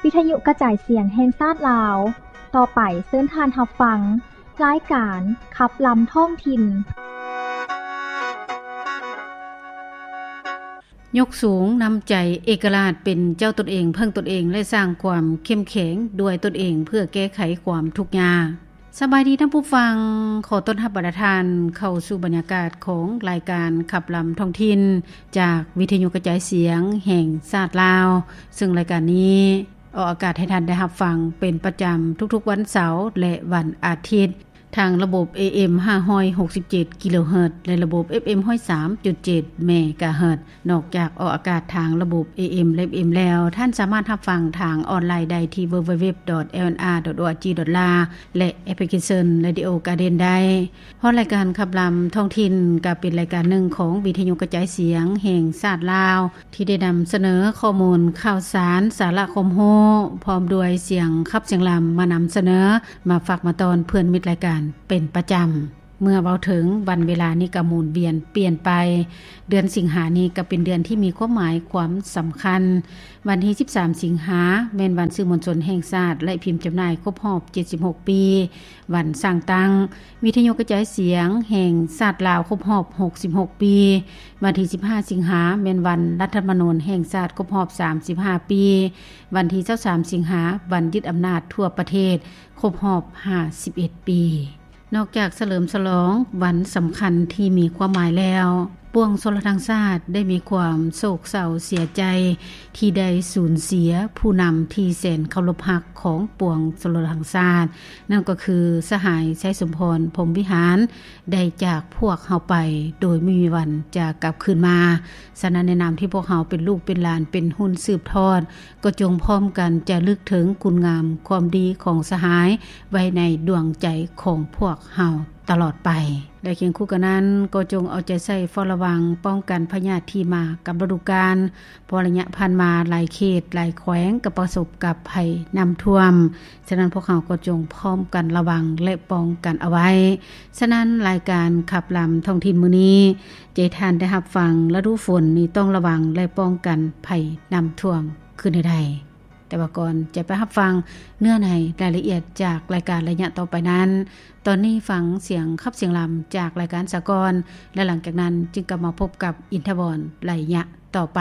ວິທະຍຸກະຈາຍສຽງແຫ່ງຊາດລາວ. ຕໍ່ໄປເຊີນທ່ານຮັບຟັງລາຍການຂັບລຳທ້ອງຖິ່ນ. ຍົກສູງນ້ຳໃຈເອກະລາດ ເປັນເຈົ້າຕົນເອງ, ເພິ່ງຕົນເອງ ແລະ ສ້າງຄວາມເຂັ້ມແຂງດ້ວຍຕົນເອງ ເພື່ອແກ້ໄຂຄວາມທຸກຍາກ. ສະບາຍດີທ່ານຜູ້ຟັງ, ຂໍຕ້ອນຮັບບັນດາທ່ານເຂົ້າສູ່ບັນຍາກາດຂອງລາຍການຂັບລຳທ້ອງຖິ່ນ ຈາກວິທະຍຸກະຈາຍສຽງແຫ່ງຊາດລາວ, ເຊິ່ງລາຍການນີ້ອອກອາກາດໃຫ້ທ່ານໄດ້ຮັບຟັງເປັນປະຈຳທຸກໆວັນເສົາ ແລະ ວັນອາທິດ ທາງລະບົບ ເອເອັມ ຫ້າຮ້ອຍຫົກສິບເຈັດ ກິໂລເຮີດ ແລະ ລະບົບ ເອັຟເອັມ ຮ້ອຍສາມຈຸດເຈັດ ເມກາເຮີດ. ນອກຈາກອອກອາກາດທາງລະບົບ ເອເອັມ ແລະ ເອັຟເອັມ ແລ້ວ, ທ່ານສາມາດຮັບຟັງທາງອອນລາຍໄດ້ທີ່ ดัບເບິນຢູດັບເບິນຢູດັບເບິນຢູ ດອດ ໂອອາຈີ ດອດ ລາວ ແລະ ແອັບພລິເຄຊັນ Radio Garden ໄດ້. ຮອດລາຍການຂັບລຳທ້ອງຖິ່ນ ກໍເປັນລາຍການໜຶ່ງຂອງວິທະຍຸກະຈາຍສຽງແຫ່ງຊາດລາວ ທີ່ໄດ້ນຳສະເໜີຂໍ້ມູນຂ່າວສານ, ສາລະຄວາມຮູ້ ພ້ອມດ້ວຍສຽງຂັບສຽງລຳມານຳສະເໜີ, ມາຝາກມາຕ້ອນເພື່ອນມິດລາຍການເປັນປະຈຳ. ເມື່ອເວົ້າເຖິງວັນເວລານີ້ກໍໝູນວຽນປ່ຽນໄປ. ເດືອນສິງຫານີ້ກໍເປັນເດືອນທີ່ມີຄວາມໝາຍຄວາມສຳຄັນ. ວັນທີສິບສາມສິງຫາ ແມ່ນວັນສື່ມວນຊົນແຫ່ງຊາດ ແລະ ພິມຈຳໜ່າຍຄົບຮອບເຈັດສິບຫົກປີ. ວັນສ້າງຕັ້ງວິທະຍຸກະຈາຍສຽງແຫ່ງຊາດລາວຄົບຮອບຫົກສິບຫົກປີ. ວັນທີສິບຫ້າສິງຫາ ແມ່ນວັນລັດຖະທຳມະນູນແຫ່ງຊາດຄົບຮອບສາມສິບຫ້າປີ. ວັນທີຊາວສາມສິງຫາ ວັນຍຶດອຳນາດທົ່ວປະເທດຄົບຮອບຫ້າສິບເອັດປີ. ນອກຈາກສະເຫຼີມສະຫຼອງວັນສຳຄັນທີ່ມີຄວາມໝາຍແລ້ວ, ປວງຊົນລະທາງຊາດໄດ້ມີຄວາມໂສກເສົ້າເສຍໃຈ ທີ່ໄດ້ສູນເສຍຜູ້ນຳທີ່ແສນເຄົາລົບຮັກຂອງປວງຊົນລະທາງຊາດ, ນັ້ນກໍຄືສະຫາຍ ໄຊສົມພອນ ພົມວິຫານ ໄດ້ຈາກພວກເຮົາໄປໂດຍບໍ່ມີວັນຈະກັບຄືນມາ. ສະນັ້ນ, ໃນນາມທີ່ພວກເຮົາເປັນລູກເປັນຫຼານ ເປັນຮຸ່ນສືບທອດ, ກໍຈົ່ງພ້ອມກັນຈະລຶກເຖິງຄຸນງາມຄວາມດີຂອງສະຫາຍໄວ້ໃນດວງໃຈຂອງພວກເຮົາຕະຫຼອດໄປ. ແລະ ຄຽງຄູ່ກັນນັ້ນ, ກໍຈົ່ງເອົາໃຈໃສ່ເຝົ້າລະວັງປ້ອງກັນພະຍາດທີ່ມາກັບລະດູການ, ເພາະໄລຍະຜ່ານມາຫຼາຍເຂດ, ຫຼາຍແຂວງກໍປະສົບກັບໄພນ້ຳຖ້ວມ. ສະນັ້ນ, ພວກເຮົາກໍຈົ່ງພ້ອມກັນລະວັງ ແລະ ປ້ອງກັນເອົາໄວ້. ສະນັ້ນ, ລາຍການຂັບລຳທ້ອງຖິ່ນມື້ນີ້ ຈະໃຫ້ທ່ານໄດ້ຮັບຟັງລະດູຝົນນີ້ຕ້ອງລະວັງ ແລະ ປ້ອງກັນໄພນ້ຳຖ້ວມຄືແນວໃດ. ແຕ່ວ່າກ່ອນຈະໄປຮັບຟັງເນື້ອໃນລາຍລະອຽດຈາກລາຍການໄລຍະຕໍ່ໄປນັ້ນ, ຕອນນີ້ຟັງສຽງຂັບສຽງລຳຈາກລາຍການສາກອນ ແລະ ຫຼັງຈາກນັ້ນຈຶ່ງກັບມາພົບກັບອິນທະວອນໄລຍະຕໍ່ໄປ.